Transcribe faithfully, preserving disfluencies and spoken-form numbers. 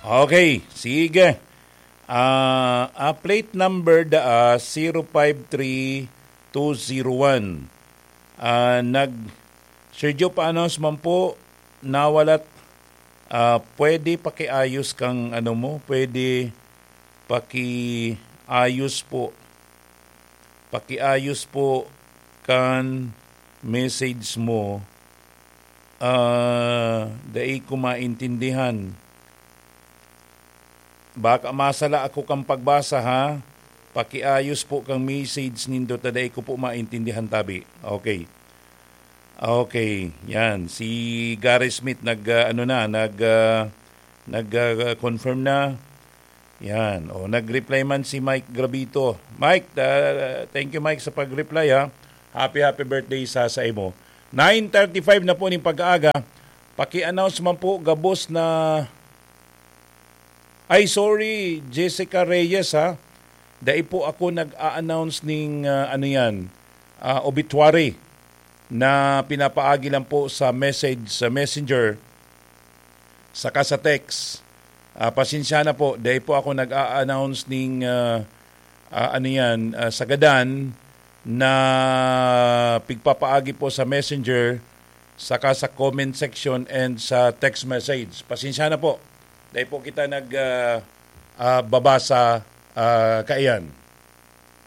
Okay, sige. Ah, ah, plate number da, ah, zero five three two zero one. Ah, nag-, Sergio, paano man po, nawalat, ah, pwede pakiayos kang ano mo, pwede pakiayos po, pakiayos po kan message mo, ah, dai ko maintindihan. Baka masala ako kan pagbasa, ha? Pakiayos po kan message nindo ta dai ko po maintindihan tabi. Okay. Okay, yan. Si Gary Smith nag, ah, ano na, nag, ah, nag, ah, confirm na. Yan. O, nag-reply man si Mike Gravito. Mike, ah, thank you, Mike, sa pag-reply, ha. Happy, happy birthday sa, sa imo. Nine thirty-five na po ning pag-aaga. Paki-announce man po, gabos na, ay, sorry, Jessica Reyes, ha. Dai po ako nag-a-announce ning, ah, ano yan, ah, obituary na pinapaagi lang po sa message, sa messenger, saka sa text. Ah, pasensya na po, dai po ako nag-a-announce ning, ah, ah, ano yan, ah, sagadan na pigpapaagi po sa messenger, saka sa comment section and sa text message. Pasensya na po, dai po kita nag, ah, ah, babasa, ah, kaiyan.